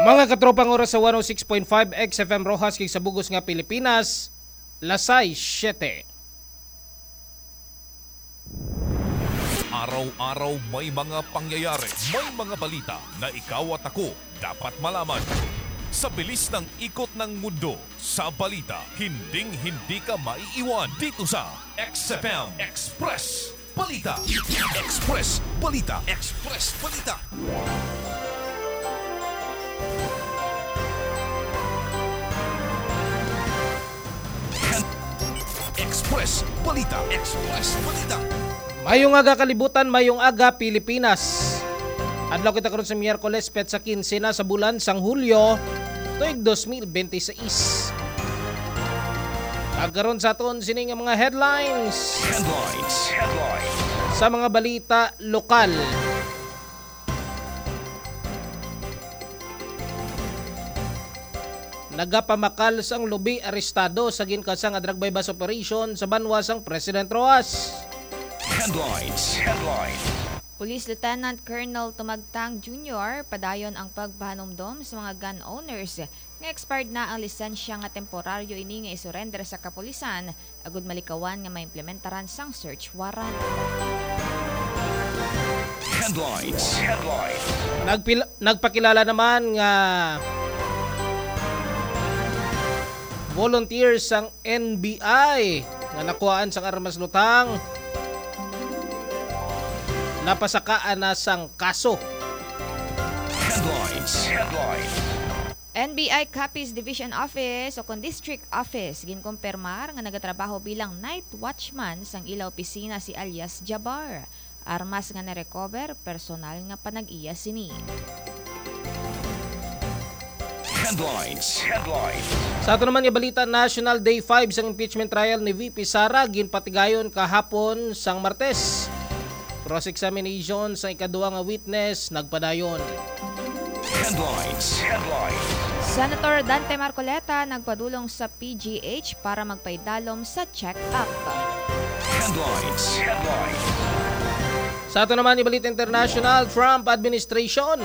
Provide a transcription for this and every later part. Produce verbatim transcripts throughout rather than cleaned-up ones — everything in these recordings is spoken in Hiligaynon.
Mga katropang oras sa one oh six point five X F M Roxas kag sa bug-os nga Pilipinas, lasay siyete. Araw-araw may mga pangyayari, may mga balita na ikaw at ako dapat malaman. Sa bilis ng ikot ng mundo, sa balita, hinding-hindi ka maiiwan dito sa X F M Express Balita. Express Balita. Express Balita. Express Balita. Express Balita. Mayong aga kalibutan, mayong aga Pilipinas. Adlaw kita karon sa Miyerkules, petsa quince na sa bulan sang Hulyo, tuig dos mil bente seis. Ag karon sa aton sini nga mga headlines. Headlines. Headlines. Sa mga balita lokal. Nagapamakal sang lubi arestado sa ginkasa nga drug buy-bust operation sa banwa sang President Roxas. Headlines. Headlines. Police Lieutenant Colonel Tumagtang Junior padayon ang pagpahanumdom sa mga gun owners nga expired na ang lisensya nga temporaryo ini nga isurrender sa kapulisan agud malikawan nga maimplementaran sang search warrant. Headlines. Headlines. Nagpil-, nagpakilala naman nga volunteer sang N B I nga nakuhaan sang armas lutang, napasakaan na sang kaso. Headlines. Headlines. N B I Capiz Division Office o kon District Office ginkumpirmar nga nagatrabaho bilang night watchman sang ila opisina si alias Jabar. Armas nga na-recover, personal nga panag-iya sini. Headlines. Headlines. Sa ato naman nga balita, National Day five sang impeachment trial ni V P Sara ginpatigayon kahapon sang Martes. Cross-examination sa ikaduha nga witness nagpadayon. Headlines. Headlines. Senator Dante Marcoleta nagpadulong sa P G H para magpaidalom sa check-up. Headlines. Headlines. Sa ato naman nga balita international, Trump administration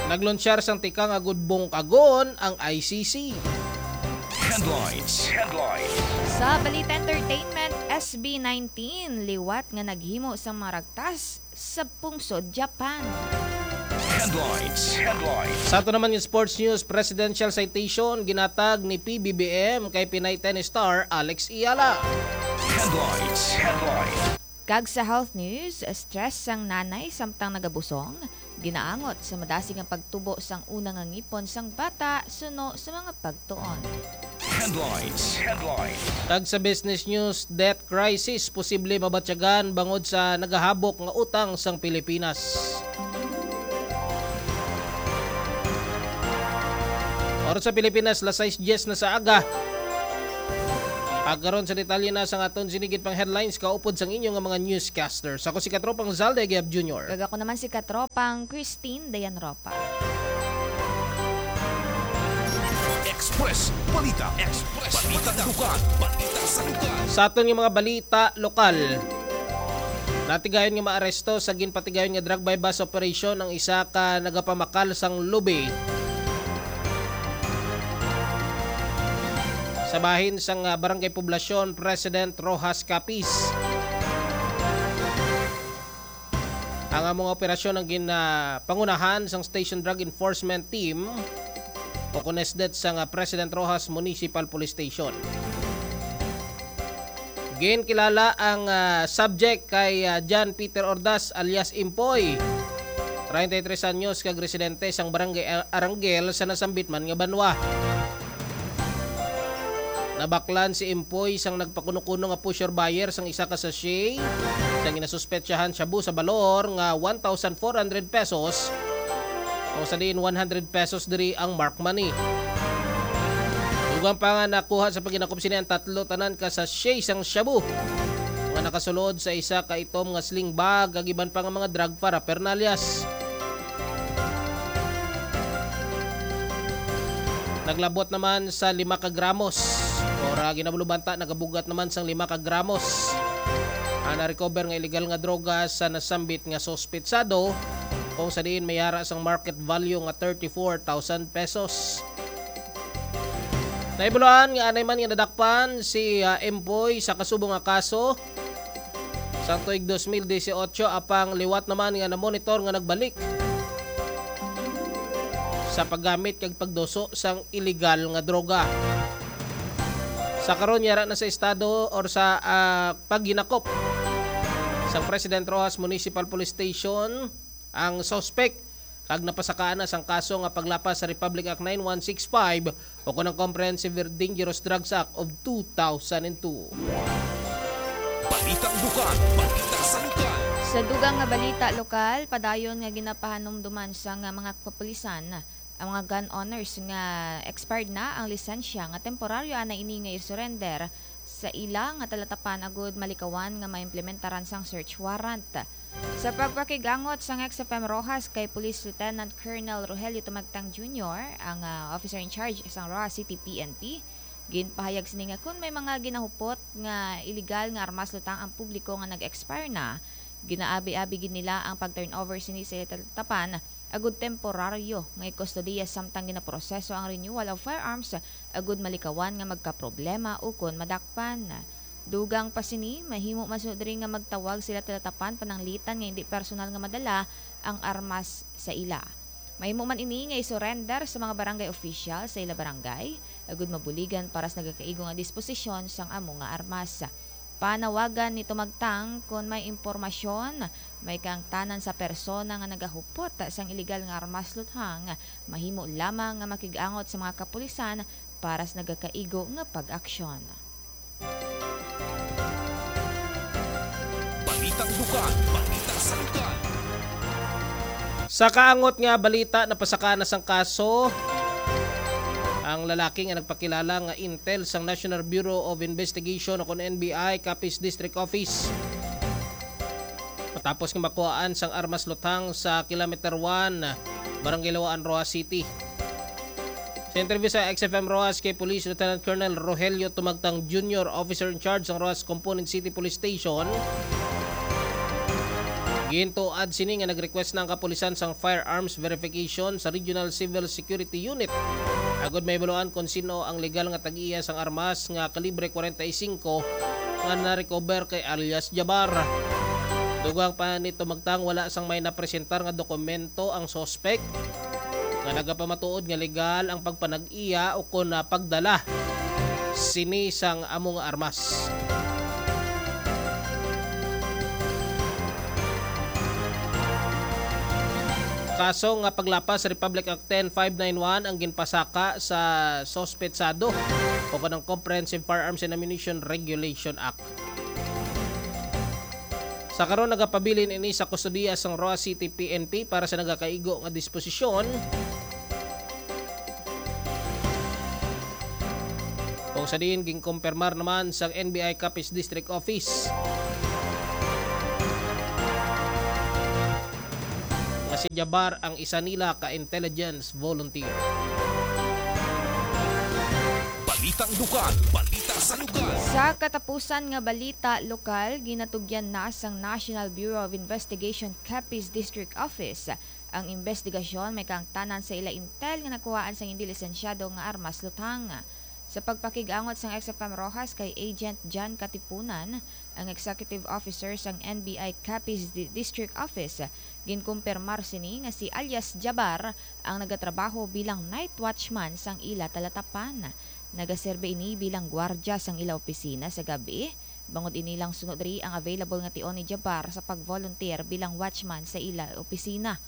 naglunsyar sang tikang agud bungkagon ang I C C. Headlines. Headlines. Sa balita entertainment, S B nineteen liwat nga naghimo sang mga ragtas sa pungsod Japan. Headlines. Headlines. Sa ato naman nga sports news, presidential citation ginatag ni P B B M kay Pinay tennis star Alex Eala. Headlines. Headlines. Kag sa health news, stress sang nanay samtang nagabusong, ginaangot sa madasig nga pagtubo sang una nga ngipon sang bata suno sa mga pagtuon. Headlines. Headlines. Kag sa business news, debt crisis posible mabatyagan bangod sa nagahabok nga utang sang Pilipinas. Oras sa Pilipinas, las sais dyes na sa aga. Ag karon sa detalye na sang aton sini gid pang headlines kaupod sang inyo nga mga newscasters. Ako si Katropang Zalde Giab Junior. Kag ako naman si Katropang Christine Dayan Ropa. Express Balita. Express Balita. Balita sa lugar. Balita sa lugar. Sa aton nga mga balita lokal, natigayon nga maaresto sa ginpatigayon nga drug buy-bust operation ang isa ka nagapamakal sang lubi sa bahin sang, ah, Barangay Poblacion President Roxas Capiz. Ang among operasyon ang gin-, ah, pangunahan sang Station Drug Enforcement Team o kon SDET sang, ah, President Roxas Municipal Police Station. Ginkilala ang, ah, subject kay, ah, John Peter Ordaz alias Impoy, treinta y tres anyos, kag residente sang Barangay Ar-, Arangel sa nasambit man nga banwa. Nabaklan si Impoy sang nagpakuno-kuno nga pusher buyer sang isa ka sachet sang ginasuspetsahan shabu sa balor nga one thousand four hundred pesos, o sa diin one hundred pesos diri ang mark money. Dugang pa nga nakuha sa paghinakop sini ang tatlo tanan ka sachet sang shabu nga nakasulod sa isa ka itom nga sling bag kag iban pa nga mga drug paraphernalias. Naglabot naman sa lima ka gramos, or, ah, ginabulubanta, nagabugat naman sang lima ka gramos ang na-recover nga illegal nga droga sa nasambit nga suspetsado. kung sa diin may ara sang market value nga thirty-four thousand pesos. Nahibaluan nga anay man nga nadakpan si, ah, Empoy sa kasubong nga kaso sang tuig dos mil dieciocho, apang liwat naman nga namonitor nga nagbalik sa paggamit kag pagduso sang iligal nga droga. Sa karon, yara na sa estado or sa, ah, paghinakop sang President Roxas Municipal Police Station ang suspek, kag napasakaan na sang kaso nga paglapas sa Republic Act nine one six five o kon ang Comprehensive Dangerous Drugs Act of two thousand and two. Balitang lokal, balita sa lokal. Sa dugang nga balita lokal, padayon nga ginapahanumduman sa nga mga kapulisan ang mga gun owners nga expired na ang lisensya nga temporaryo ana ini nga i-surrender sa ila nga talatapan agud malikawan nga maimplementaran sang search warrant. Sa pagpakig-angot sang X F M Roxas kay Police Lieutenant Colonel Rogelio Tumagtang Junior, ang, ah, officer in charge sang Roxas City P N P, ginpahayag sini nga kon may mga ginahupot nga iligal nga armas lutang ang publiko nga nag-expire na, ginaabi-abi gid nila ang pag-turnover sini sa ila talatapan agud temporaryo nga ikustodiya samtang ginaproseso ang renewal of firearms agud malikawan nga magkaproblema ukon madakpan. Dugang pa sini, mahimo man sunod diri nga magtawag sila talatapan pananglitan nga indi personal nga madala ang armas sa ila. Mahimo man ini nga i-surrender sa mga barangay official sa ila barangay, agud mabuligan para sa nagakaigo nga disposisyon sang amo nga armas. Panawagan ni Tumagtang kon may impormasyon, may kaangtanan sa persona nga nagahupot sang iligal nga armas luthang, mahimo lamang nga makig-angot sa mga kapulisan para sa nagakaigo nga pag-aksyon. Balitang lokal, balita sa lokal. Sa kaangot nga balita, napasaka na sang kaso ang lalaki nga nagpakilala nga intel sang National Bureau of Investigation o kon N B I Capiz District Office, matapos nga makuhaan sang armas luthang sa Kilometer one, Barangay Lawaan, Roxas City. Sa interview sa X F M Roxas kay Police Lieutenant Colonel Rogelio Tumagtang Junior, Officer in Charge sang Roxas Component City Police Station, gintuad sini nga nag-request na ang kapulisan sang firearms verification sa Regional Civil Security Unit agud mahibaluan kon sin-o ang legal nga tag-iya sang armas nga kalibre forty-five nga na-recover kay alias Jabar. Dugang pa ni Tumagtang, wala sang may napresentar nga dokumento ang suspek nga nagapamatuod nga legal ang pagpanag-iya o kon, ah, pagdala sini sang amo nga armas. Kaso nga paglapas sa Republic Act ten five nine one ang ginpasaka sa suspetsado o kon ang Comprehensive Firearms and Ammunition Regulation Act. Sa karon, nagapabilin ini sa kustodiya sang Roxas City P N P para sa nagakaigo nga disposisyon, kung sa diin ginkumpirmar naman sang N B I Capiz District Office nga si Jabar ang isa nila ka intelligence volunteer. Balitang lokal, balita sa lokal. Sa katapusan nga balita lokal, ginatugyan na sang National Bureau of Investigation Capiz District Office ang imbestigasyon may kaangtanan sa ila intel nga nakuhaan sang indi lisensyado nga armas luthang. Sa pagpakig-angot sang X F M Roxas kay Agent John Katipunan, ang executive officer sang N B I Capiz Di-, District Office, ginkumpirmar sini nga si alias Jabar ang nagatrabaho bilang night watchman sang ila talatapan. Nagaserbi ini bilang gwardya sang ila opisina sa gab-i. Bangod ini lang suno diri ang available nga tion ni Jabar sa pag-volunteer bilang watchman sa ila opisina.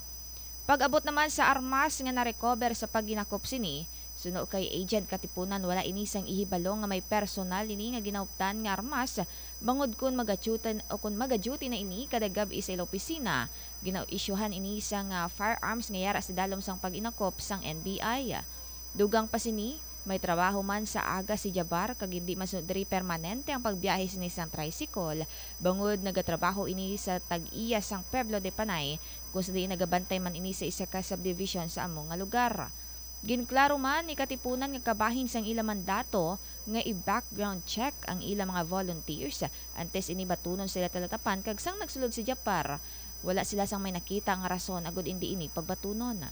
Pag-abot naman sa armas nga na-recover sa paghinakop sini, suno kay Agent Katipunan, wala ini sang ihibalo nga may personal ini nga ginahuptan nga armas, bangod kon magadyutan o kon magadyuti na ini kada gab-i sa ila opisina, gina-isyuhan ini sang, ah, firearms nga yara sa dalom sang pag-inakop sang N B I. Dugang pa sini, may trabaho man sa aga si Jabar kag hindi man sunod diri permanente ang pagbiyahe sini sang tricycle, bangod nagatrabaho ini sa tag-iya sang Pueblo de Panay, kung sa diin nagabantay man ini sa isa ka subdivision sa amo nga lugar. Ginklaro man ni Katipunan nga kabahin sang ila mandato nga i-background check ang ila mga volunteers antes ini batunon sa ila talatapan, kag sang nagsulod si Jabar, Wala sila sang may nakita nga rason agud indi ini pagbatunon.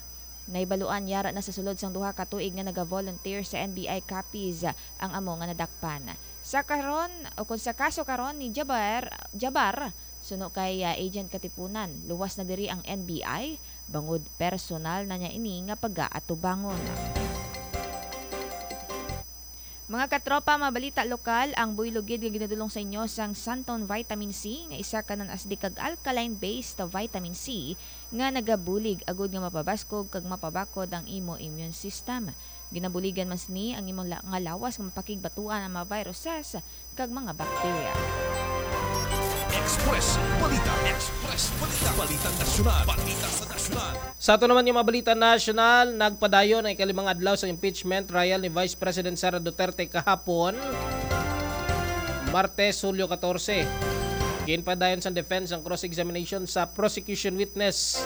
Nahibaluan yara na sa sulod sang duha ka tuig nga naga-volunteer sa N B I Capiz ang amo nga nadakpan. Sa karon, o kung sa kaso karon ni Jabar, Jabar, suno kay, ah, Agent Katipunan, luwas na diri ang N B I bangod personal na niya ini nga pagaatubangon. Mga katropa, mabalita lokal, ang buylog gid nga ginadulong sa inyo sang Santon Vitamin C, nga isa ka non-acidic kag alkaline-based vitamin C, nga nagabulig agud nga mapabaskog kag mapabakod ang imo immune system. Ginabuligan man sini ang imo la-, nga lawas nga mapakigbatuan ang mga viruses kag mga bakterya. Express Balita. Express Balita. Balita Nasyonal. Balita sa Nasyonal. Sa ato naman nga mga balita nasyonal, nagpadayon ang ikalimang adlaw sa impeachment trial ni Vice President Sara Duterte kahapon, Martes, Hulyo katorse. Ginpadayon sang defense ang cross-examination sa prosecution witness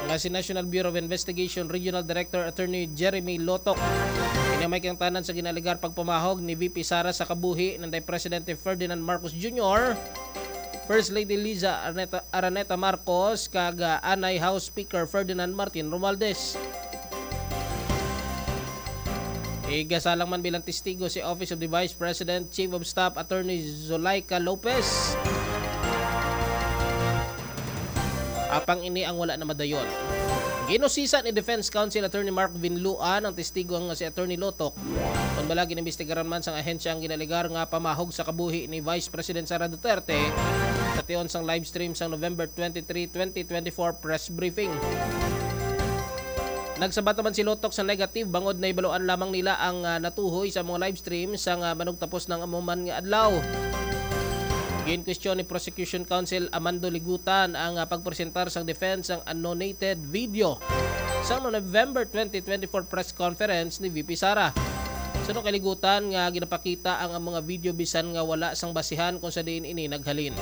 nga si National Bureau of Investigation Regional Director Attorney Jeremy Lotok. Ini may kangtanan sa ginalegar pagpamahog ni V P Sara sa kabuhi nanday Presidente Ferdinand Marcos Junior, First Lady Liza Araneta, Araneta Marcos, kag, ah, anay House Speaker Ferdinand Martin Romualdez. Igasalang man bilang testigo si Office of the Vice President Chief of Staff Attorney Zulaika Lopez. Apang ini ang wala na madayon. Ginusisa ni Defense Counsel Attorney Mark Vinluan ang testigo nga si Attorney Lotok, kon bala ginimbistigaran man sang ahensya ang ginalegar nga pamahog sa kabuhi ni Vice President Sara Duterte sa tion sang live stream sang November twenty-three, twenty twenty-four press briefing. Nagsabat naman si Lotok sa negative bangod nahibaluan lamang nila ang, ah, natuhoy sa mga live stream sang, ah, manugtapos ng amo man nga adlaw. Ginkwestiyon ni Prosecution Counsel Amando Ligutan ang, ah, pagpresentar sang defense sang annotated video sang November twenty twenty-four press conference ni V P Sara. Suno kay Ligutan nga ginapakita ang, ang mga video bisan nga wala sang basihan kung sa diin ini naghalin.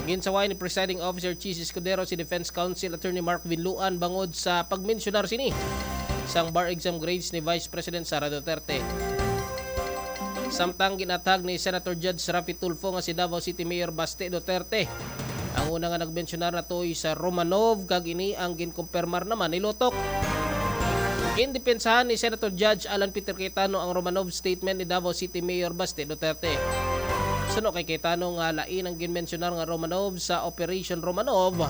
Ginsaway ni Presiding Officer Chiz Escudero si Defense Counsel Attorney Mark Vinluan bangod sa pagmensyonar sini sang bar exam grades ni Vice President Sara Duterte. Samtang ginathag ni Senator Judge Raffy Tulfo nga si Davao City Mayor Baste Duterte ang una nga nagmensyonar natuhoy sa Romanov, kag ini ang ginkumpirmar naman ni Lotok. Gindepensahan ni Senator Judge Alan Peter Cayetano ang Romanov statement ni Davao City Mayor Baste Duterte. Suno kay Cayetano nga lain ang ginmensyonar nga Romanov sa Operation Romanov,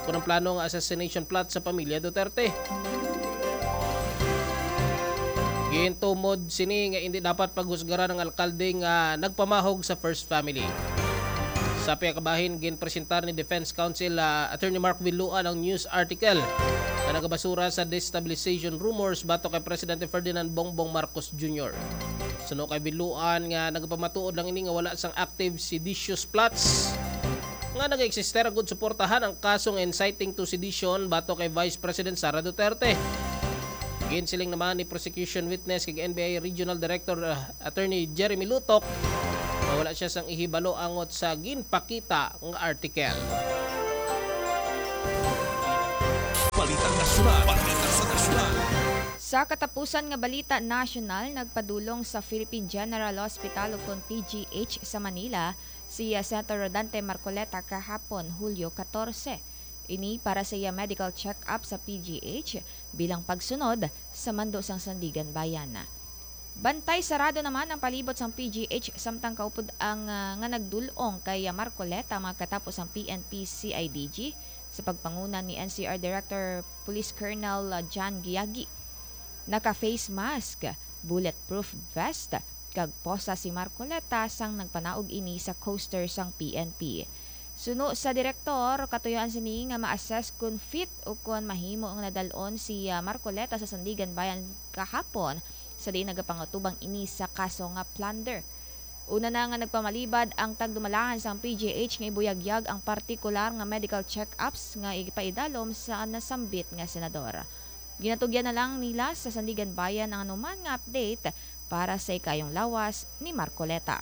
kun ang plano nga assassination plot sa pamilya Duterte. Gintumod sini nga indi dapat paghusgaran ang alkalde nga nagpamahog sa first family. Sa pihak kabahin, ginpresentar ni Defense Counsel, ah, Attorney Mark Villuan ang news article nga nagabasura sa destabilization rumors batok kay Presidente Ferdinand Bongbong Marcos Junior. Suno kay Villuan nga nagapamatuod lang ini nga wala sang active seditious plots nga nag-existe agud suportahan ang kaso nga inciting to sedition batok kay Vice President Sara Duterte. Ginsiling naman ni prosecution witness kag N B I Regional Director, ah, Attorney Jeremy Lutok nga wala siya sang ihibalo angot sa ginpakita nga article. Balita Nasyonal. Balita sa Nasyonal. Sa katapusan nga balita nasyonal, nagpadulong sa Philippine General Hospital ukon P G H sa Manila si, ah, Senator Rodante Marcoleta kahapon, Hulyo katorse. Ini para sa iya medical check-up sa P G H bilang pagsunod sa mando sang Sandiganbayan. Bantay sarado naman ang palibot sang P G H samtang kaupod ang, ah, nga nagdul-ong kay Marcoleta makatapos ang P N P C I D G sa pagpanguna ni N C R Director Police Colonel, ah, John Giagi. Naka-face mask, bulletproof vest, kag posa si Marcoleta sang nagpanaog ini sa coaster sang P N P. Suno sa direktor, katuyuan sini nga ma-assess kon fit ukon mahimo nga nadal-on si, ah, Marcoleta sa Sandiganbayan kahapon, sa diin nagapangatubang ini sa kaso nga plunder. Una na nga nagpamalibad ang tagdumalahan sang P G H nga ibuyagyag ang partikular nga medical check-ups nga ipaidalom sa nasambit nga senador. Ginatugyan na lang nila sa Sandiganbayan ang anuman nga update para sa ikayong lawas ni Marcoleta.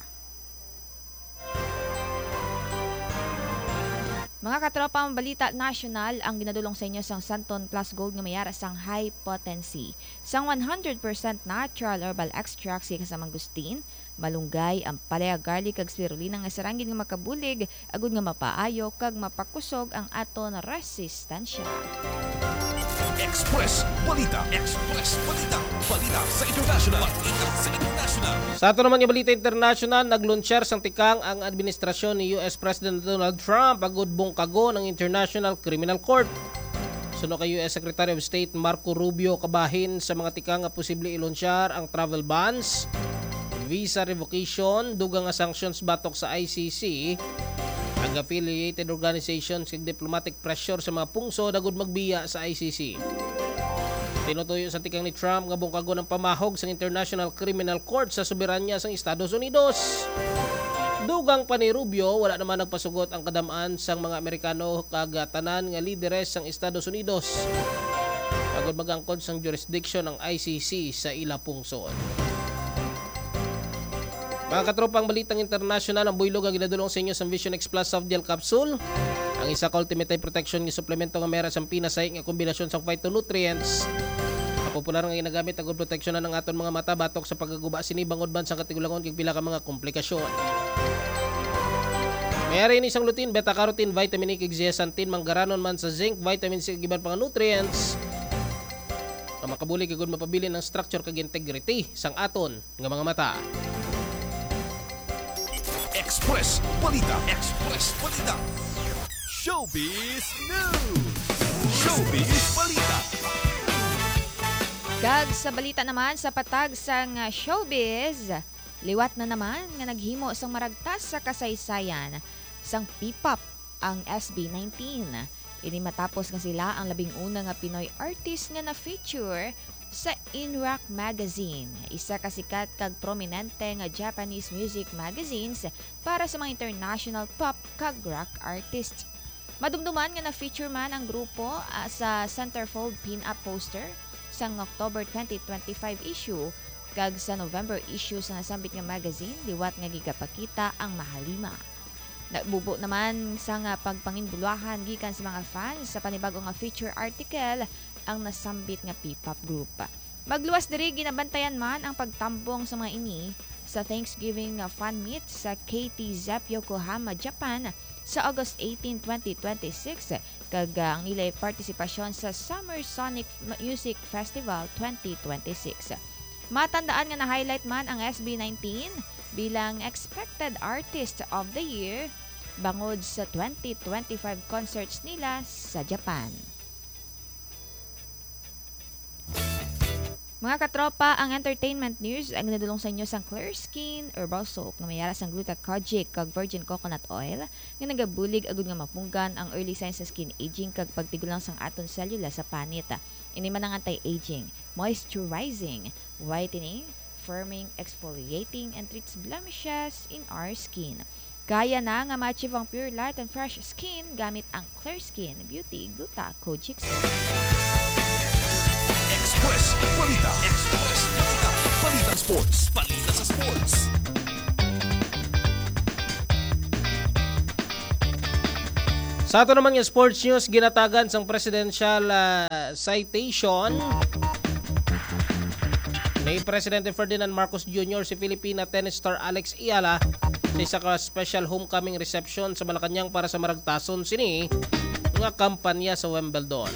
Mga katropa, ang balita nasyonal ang ginadulong sa inyo sang Santon Plus Gold nga may ara sang high potency. Sang one hundred percent natural herbal extract sa kasamang gustin, Malunggay, ampalaya, garlic, kag spirulina nga sarang gid nga makabulig agud nga mapaayo kag mapakusog ang aton resistansya. Express Balita. Express Balita. Balita sa international. Balita sa international. Sa ato naman nga balita international, naglunsyar sang tikang ang administrasyon ni U S President Donald Trump agud bungkagon ang International Criminal Court. Suno kay U S Secretary of State Marco Rubio, kabahin sa mga tikang nga posible ilunsyar ang travel bans, visa revocation, dugang nga sanctions batok sa I C C, ang affiliated organizations kag diplomatic pressure sa mga pungsod agud magbiya sa I C C. Tinutuyo sa tikang ni Trump nga bungkagon ang pamahog sang International Criminal Court sa soberanya sang Estados Unidos. Dugang pa ni Rubio, wala naman nagpasugot ang kadam-an sang mga Amerikano kag tanan nga lideres sang Estados Unidos agud mag-angkon sang jurisdiction ang I C C sa ila pungsod. Mga katropang balitang internasyonal, ang buylog nga ginadulong sa inyo sang Vision X Plus Soft Gel Capsule. Ang isa ka ultimate eye protection nga suplemento nga may ara sang pinasay nga kombinasyon sang phytonutrients nga popular nga ginagamit agud proteksyonan ang aton mga mata batok sa pagkaguba sini bangod man sang katigulangon kag pila ka mga komplikasyon. May ara ini sang lutein, beta-carotene, vitamin E kag zeaxanthin, manggaranon man sa zinc, vitamin C kag iban pa nga nutrients nga makabulig agud mapabilin ang structure kag integrity sang aton nga mga mata. Express Balita. Express Balita. Showbiz News. Showbiz Balita. Kag sa balita naman sa patag sang showbiz, liwat na naman nga naghimo sang maragtas sa kasaysayan sang P-pop ang S B nineteen. Ini matapos nga sila ang labing una nga Pinoy artist nga na-feature sa Inrock Magazine, isa ka sikat kag prominente nga Japanese music magazines para sa mga international pop kag rock artists. Madumduman nga na-feature man ang grupo, ah, sa centerfold pin-up poster sang October twenty twenty-five issue kag sa November issue sa nasambit nga magazine, liwat nga gigapakita ang mahalima. Nagbubo naman sang pagpanginbulwahan gikan sa mga fans sa panibag-o nga feature article ang nasambit nga P-pop group. Magluwas diri, ginabantayan man ang pagtambong sa mga ini sa Thanksgiving nga fan meet sa K T Zepp, Yokohama, Japan, sa August eighteen, twenty twenty-six, kag, ah, ang ila'y partisipasyon sa Summer Sonic M-, Music Festival twenty twenty-six. Matandaan nga na-highlight man ang S B nineteen bilang Expected Artist of the Year bangod sa twenty twenty-five concerts nila sa Japan. Mga katropa, ang entertainment news ang nadulong sa inyo sang Clear Skin Herbal Soap nga may ara sang gluta kojic kag virgin coconut oil nga nagabulig agud nga mapunggan ang early signs sa skin aging kag pagtigulang sang aton selula sa panit. Ini man ang anti-aging, moisturizing, whitening, firming, exfoliating, and treats blemishes in our skin. Kaya na nga ma-achieve ang pure light and fresh skin gamit ang Clear Skin Beauty Gluta Kojic Soap. Express Balita. Express Balita. Balitang sports. Balita sa sports. Sa ato naman nga sports news, ginatagan sang presidential, ah, citation ni Presidente Ferdinand Marcos Junior si Filipina tennis star Alex Eala sa isa ka special homecoming reception sa Malacañang para sa maragtason sini nga kampanya sa Wimbledon.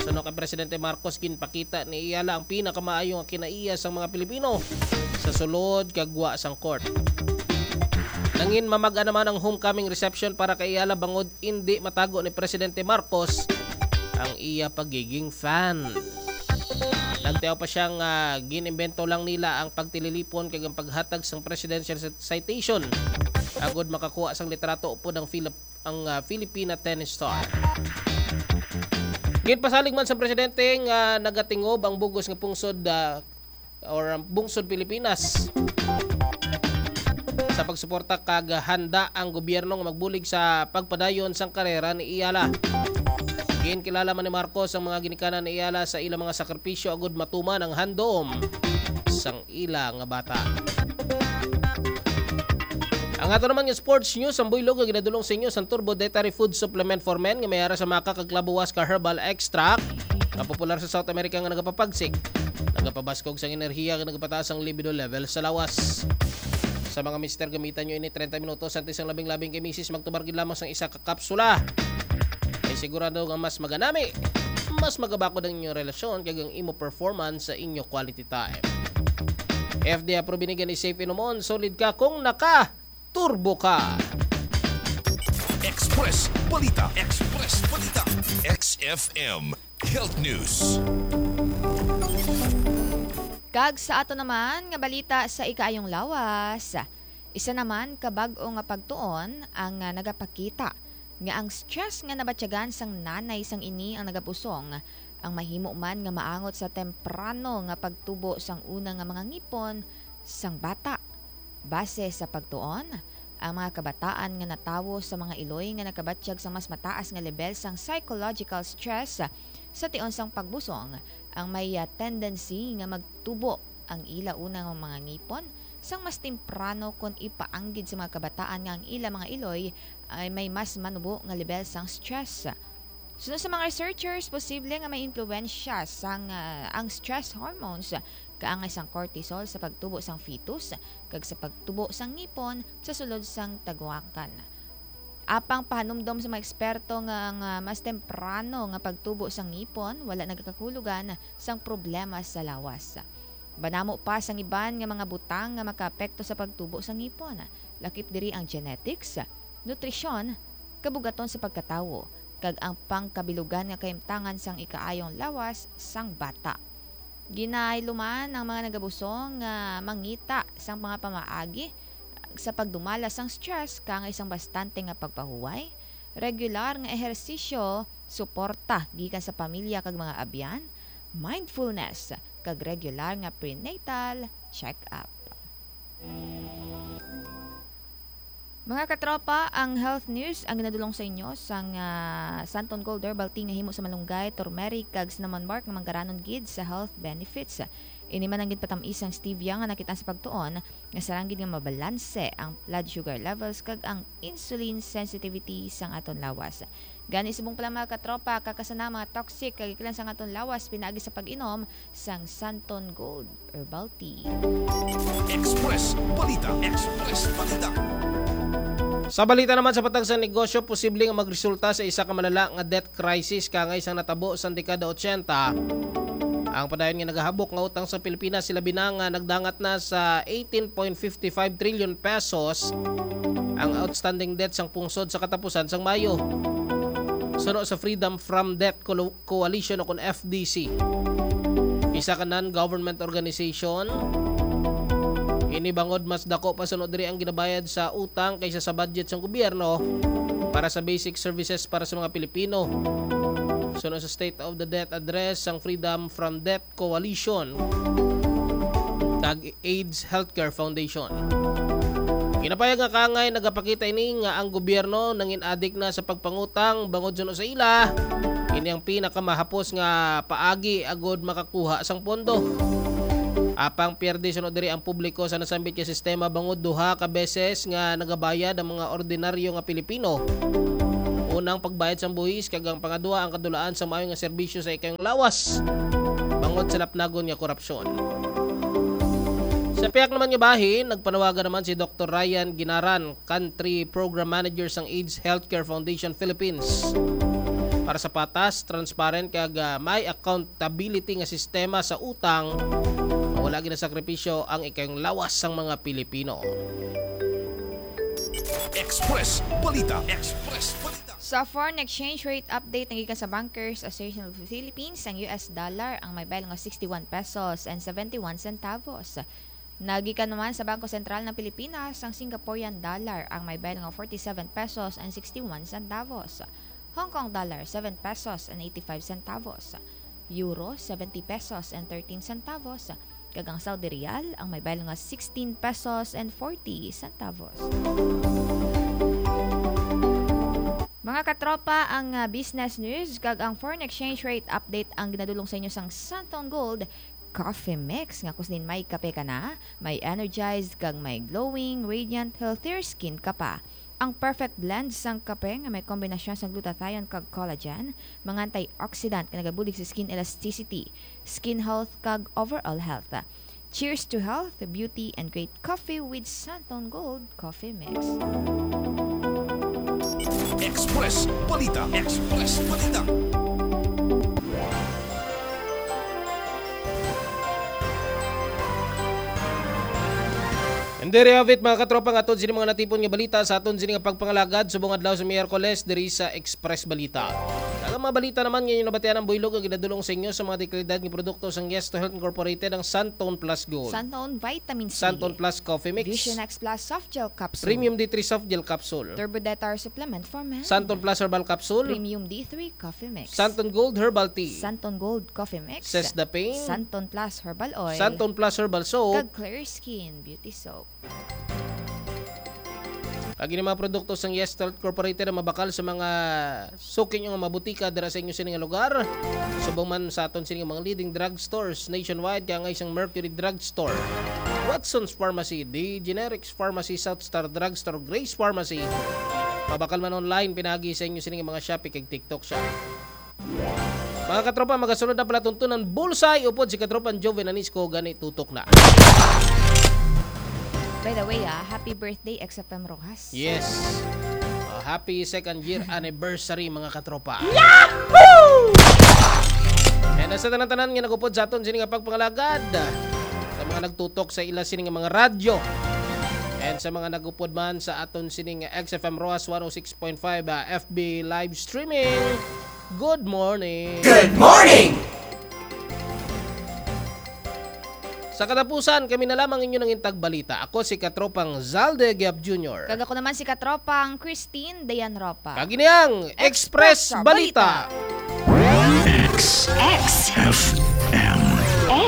Suno kay Presidente Marcos, ginpakita ni Eala ang pinakamaayo nga kinaiya sang mga Pilipino sa sulod kag gwa sang court. Nangin mamag-a naman ang homecoming reception para kay Eala bangod indi matago ni Presidente Marcos ang iya pagiging fan. Nagtiaw pa siya nga gin-imbento lang nila ang pagtililipon kag ang paghatag sang presidential citation agud makakuha sang litrato upod ang Filip-, ang, ah, Filipina tennis star. Ginpasalig man sa presidente nga nagatingob ang bugos nga pungsod, ah, or ang bungsod Pilipinas sa pagsuporta kag handa ang gobyerno nga magbulig sa pagpadayon sang karera ni Eala. Ginkilala man ni Marcos ang mga ginikanan ni Eala sa ilang mga sakripisyo agud matuman ang handom sang ila nga bata. Ang ato naman nga sports news, ang buylog nga ginadulong sa inyo sang Turbo Dietary Food Supplement for Men nga may ara sa maca kag clavo huasca herbal extract nga popular sa South America nga nagapapagsik, nagapabaskog sang enerhiya kag nagapataas ang libido level sa lawas. Sa mga mister, gamitan nyo ini treinta minutos antes ang labing-labing kay misis magtumar gid lamang sang isa ka kapsula. Kay sigurado nga mas maganami, mas magabakod ang inyong relasyon kag ang imo performance sa inyo quality time. F D A approved ini, gani safe inumon, solid ka kung naka turbo ka. Express Balita. Express Balita. X F M Health News. Kag sa ato naman nga balita sa ikaayong lawas, isa naman ka bag-o nga pagtuon ang ah, nagapakita nga ang stress nga nabatyagan sang nanay sang ini ang nagapusong ang mahimo man nga maangot sa temprano nga pagtubo sang una nga mga ngipon sang bata. Base sa pagtuon, ang mga kabataan nga natawo sa mga iloy nga nakabatyag sa mas mataas nga lebel sang psychological stress sa tion sang pagbusong ang may ah, tendency nga magtubo ang ila una nga mga ngipon sang mas temprano kon ipaanggid sa mga kabataan nga ang ila mga iloy ay may mas manubo nga lebel sang stress. Suno sa mga researchers, posible nga may impluwensya sang ah, ang stress hormones kaangay sang cortisol sa pagtubo sang fetus kag sa pagtubo sang ngipon sa sulod sang taguakan. Apang pahanumdom sa mga eksperto nga ang ah, mas temprano nga pagtubo sang ngipon wala nagakahulugan sang problema sa lawas. Banamo pa sang iban nga mga butang nga makaapekto sa pagtubo sang ngipon, lakip diri ang genetics, nutrisyon, kabugaton sa pagkatawo, kag ang pangkabilugan nga kahimtangan sang ikaayong lawas sang bata. Ginahayluman ang mga nagabusong nga mangita sang mga pamaagi sa pagdumala sang stress kaangay sang bastante nga pagpahuway, regular nga ehersisyo, suporta gikan sa pamilya kag mga abyan, mindfulness, kag regular nga prenatal check-up. Mga katropa, ang health news ang ginadulong sa inyo sang ah, Santon Gold Herbal Tea nga himo sa malunggay, turmeric, kag cinnamon bark nga manggaranon gid sa health benefits. Ini man ang ginpatam-is sang stevia nga nakit-an sa pagtuon nga sarang gid nga mabalanse ang blood sugar levels kag ang insulin sensitivity sang aton lawas. Gani subong pa lang, mga katropa, kakasana ang mga toxic kag ikilan sang aton lawas pinaagi sa pag-inom sang Santon Gold Herbal Tea. Express Balita. Express Balita. Sa balita naman sa patag sa negosyo, posible nga magresulta sa isa ka malala nga debt crisis kaangay sang natabo sang dekada ochenta. Ang padayon nga nagahabok nga utang sa Pilipinas, sila bina nga nagdangat na sa eighteen point fifty five trillion pesos ang outstanding debt sang pungsod sa katapusan sang Mayo. Suno sa Freedom from Debt Colo- Coalition o kon F D C, isa ka non-government organization. Ini bangod mas dako pa suno diri ang ginabayad sa utang kaysa sa budget sang gobyerno para sa basic services para sa mga Pilipino. Suno sa State of the Debt Address sang Freedom from Debt Coalition kag AIDS Healthcare Foundation. Ginapayag nga kaangay nagapakita ini nga ang gobyerno nangin-adik na sa pagpangutang bangod suno sa ila. Ini ang pinakamahapos nga paagi agud makakuha sang pondo. Apang pierde suno diri ang publiko sa nasambit nga sistema bangod duha ka beses nga nagabayad ang mga ordinaryo nga Pilipino. Unang pagbayad sang buhis kag ang pangadua ang kadulaan sa maayo nga serbisyo sa ikayong lawas bangod sa lapnagon nga korupsyon. Sa piyak naman nga bahin, nagpanawagan naman si Doktor Ryan Ginaran, Country Program Manager sang AIDS Healthcare Foundation Philippines, para sa patas, transparent kag ah, may accountability nga sistema sa utang nga wala ginasakripisyo ang ikayong lawas sang mga Pilipino. Express Balita. Express Balita. Sa foreign exchange rate update nga gikan sa Bankers Association of the Philippines, ang U S dollar ang may bayad nga sixty-one pesos and seventy-one centavos. Nagikan naman sa Bangko Sentral ng Pilipinas ang Singaporean dollar ang may bayad nga forty-seven pesos and sixty-one centavos. Hong Kong dollar, seven pesos and eighty-five centavos. Euro, seventy pesos and thirteen centavos. Kag ang Saudi Riyal ang may bayad nga sixteen pesos and forty centavos. Mga katropa, ang ah, business news kag ang foreign exchange rate update ang ginadulong sa inyo sang Santon Gold Coffee Mix, nga kung sinin may kape ka na, may energized kag may glowing, radiant, healthier skin ka pa. Ang perfect blend sang kape nga may kombinasyon sang glutathione kag collagen, mga antioxidant nga nagabulig sa skin elasticity, skin health kag overall health. Cheers to health, beauty, and great coffee with Santon Gold Coffee Mix. Express Balita. Express Balita. And there you have it, mga katropa, nga aton sini mga natipon nga balita sa aton sini nga pagpangalagad subong adlaw sa Miyerkules diri sa Express Balita. Ang mga balita naman nga inyo nabatian ang buylog nga ginadulong sa inyo sa mga dekalidad nga produkto sang Yes to Health Incorporated, ang Santon Plus Gold, Santon Vitamin C, Santon Plus Coffee Mix, Vision X Plus Soft Gel Capsule, Premium D three Soft Gel Capsule, Turbo Detar Supplement for Men, Santon Plus Herbal Capsule, Premium D three Coffee Mix, Santon Gold Herbal Tea, Santon Gold Coffee Mix, Sesda Pain, Santon Plus Herbal Oil, Santon Plus Herbal Soap, kag Clear Skin Beauty Soap. Kag ini mga produkto sang Yes Health Incorporated ang mabakal sa mga suki nga mga butika dira sa inyo sini nga lugar. Subong man sa aton sini nga mga leading drugstores nationwide, kaya nga isang Mercury Drugstore, Watson's Pharmacy, The Generics Pharmacy, South Star Drugstore, Grace Pharmacy. Mabakal man online, pinagi sa inyo sini nga mga Shopee kag TikTok Shop. Mga katropa, magasunod na palatuntunan Bullseye upod si katropang Joven Anisco, gani tutok na. By the way, ah, happy birthday, X F M Rojas. Yes. Uh, happy second year anniversary, mga katropa. Yahoo! And sa tanan-tanan nga nagupod sa aton sini nga pagpangalagad, sa mga nagtutok sa ila sini nga mga radyo, and sa mga nagupod man sa aton sini nga X F M Rojas one oh six point five, ah, F B live streaming, good morning. Good morning! Sa katapusan, kami na lamang inyo nangintag balita. Ako si Katropang Zalde Giap Junior. Kag ako naman si Katropang Christine Dayan Ropa. Kag ini ang Express Express Balita. Balita. X X F M.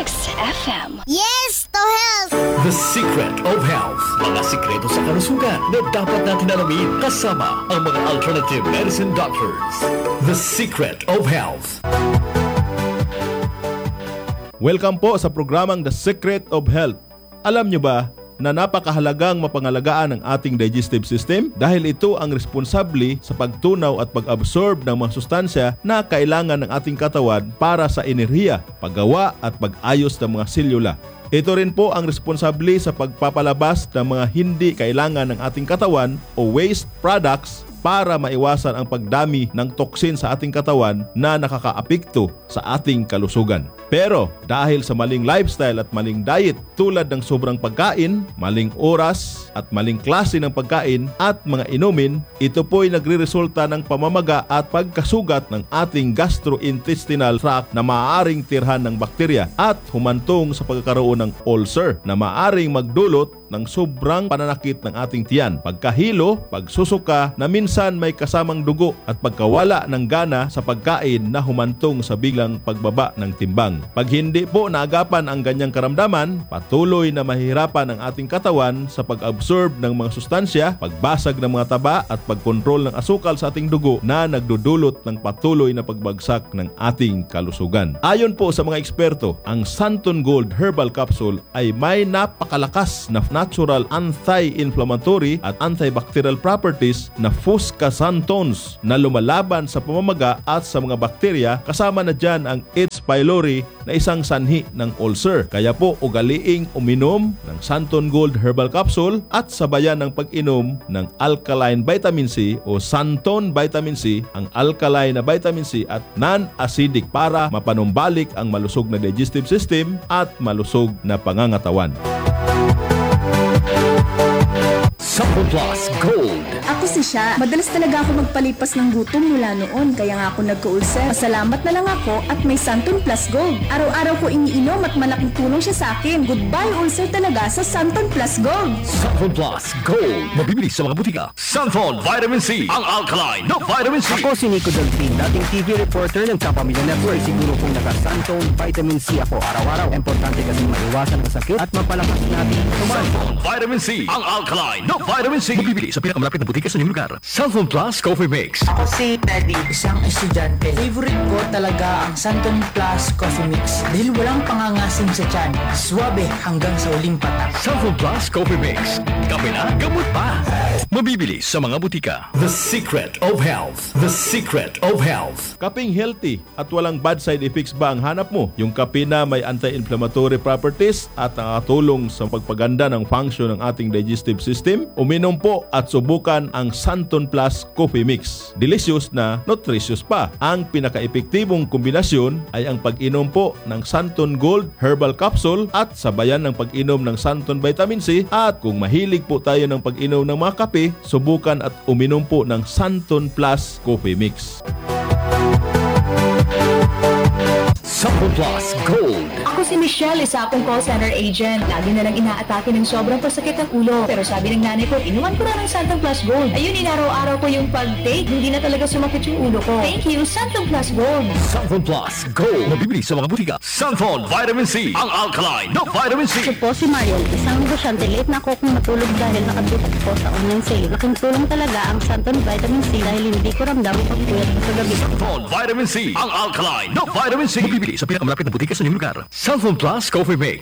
X F M. Yes to health! The Secret of Health. Mga sikreto sa kalusugan na dapat natin alamin kasama ang mga alternative medicine doctors. The Secret of Health. Welcome po sa programang The Secret of Health. Alam nyo ba na napakahalagang mapangalagaan ang ating digestive system dahil ito ang responsable sa pagtunaw at pag-absorb ng mga sustansya na kailangan ng ating katawan para sa enerhiya, paggawa at pag-ayos ng mga selula. Ito rin po ang responsable sa pagpapalabas ng mga hindi kailangan ng ating katawan o waste products para maiwasan ang pagdami ng toxin sa ating katawan na nakakaapekto sa ating kalusugan. Pero dahil sa maling lifestyle at maling diet, tulad ng sobrang pagkain, maling oras, at maling klase ng pagkain at mga inumin, ito po'y nagreresulta ng pamamaga at pagkasugat ng ating gastrointestinal tract na maaaring tirhan ng bakterya at humantong sa pagkakaroon ng ulcer na maaaring magdulot ng sobrang pananakit ng ating tiyan, pagkahilo, pagsusuka na minsan may kasamang dugo, at pagkawala ng gana sa pagkain na humantong sa biglang pagbaba ng timbang. Pag hindi po naagapan ang ganyang karamdaman, patuloy na mahihirapan ang ating katawan sa pag-absorb ng mga sustansya, pagbasag ng mga taba, at pagkontrol ng asukal sa ating dugo na nagdudulot ng patuloy na pagbagsak ng ating kalusugan. Ayon po sa mga eksperto, ang Santon Gold Herbal Capsule ay may napakalakas na natural anti-inflammatory at antibacterial properties na fuscasantons na lumalaban sa pamamaga at sa mga bakterya, kasama na dyan ang H. pylori na isang sanhi ng ulcer. Kaya po, ugaliing uminom ng Santon Gold Herbal Capsule at sabayan ng pag-inom ng alkaline vitamin C o Santon Vitamin C, ang alkaline na vitamin C at non-acidic para mapanumbalik ang malusog na digestive system at malusog na pangangatawan. Sapul Plus Gold. Ako si Sha. Madalas talaga ako magpalipas ng gutom mula noon, kaya nga ako nagka-ulcer. Pasalamat na lang ako at may Santon Plus Gold. Araw-araw ko iniinom at malaking tulong siya sa akin. Goodbye ulcer talaga sa Santon Plus Gold. Sapul Plus Gold. Mabibili sa mga butika. Santon Vitamin C, ang alkaline na vitamin C. Ako si Nico Delfin, dating T V reporter ng Kapamilya Network. Siguro kung naka-Santon Vitamin C ako araw-araw, importante kasi maiwasan ang sakit at mapalakas natin ang kumain. Santon Vitamin C, ang alkaline na vitamin C. Mabibili sa pinakamalapit na butika sa inyong lugar. Santon Plus Coffee Mix. Ako si Teddy, isang estudyante. Favorite ko talaga ang Santon Plus Coffee Mix dahil walang pangangasim sa tiyan. Suabe hanggang sa uling patak. Santon Plus Coffee Mix. Kape na, gamot pa. Mabibili sa mga butika. The secret of health. The secret of health. Kaping healthy at walang bad side effects ba ang hanap mo? Yung kape na may anti-inflammatory properties at nakakatulong sa pagpaganda ng function ng ating digestive system? Uminom po at subukan ang Santon Plus Coffee Mix. Delicious na nutritious pa. Ang pinakaepektibong kombinasyon ay ang pag-inom po ng Santon Gold Herbal Capsule at sabayan ng pag-inom ng Santon Vitamin C. At kung mahilig po tayo ng pag-inom ng mga kape, subukan at uminom po ng Santon Plus Coffee Mix. Santon Plus Gold. Ako si Michelle, isa akong call center agent. Lagi na lang inaatake ng sobrang pasakit ang ulo. Pero sabi ng nanay ko, inuman ko na ng Santon Plus Gold. Ayun, inaraw-araw ko yung pag-take. Hindi na talaga sumakit yung ulo ko. Thank you, Santon Plus Gold. Santon Plus Gold. Mabibili sa mga butika. Santon Vitamin C, ang alkaline na vitamin C. Ako po si Marian, isang negosyante. Late na ako kung matulog dahil nakabit ako sa online sale. Laking tulong talaga ang Santon Vitamin C dahil hindi ko ramdam ang pagpuyat ko sa gabi. Santon Vitamin C, ang alkaline na vitamin C. Mabibili sa pinakamalapit na butika sa inyong lugar. Santon Plus Coffee Mix.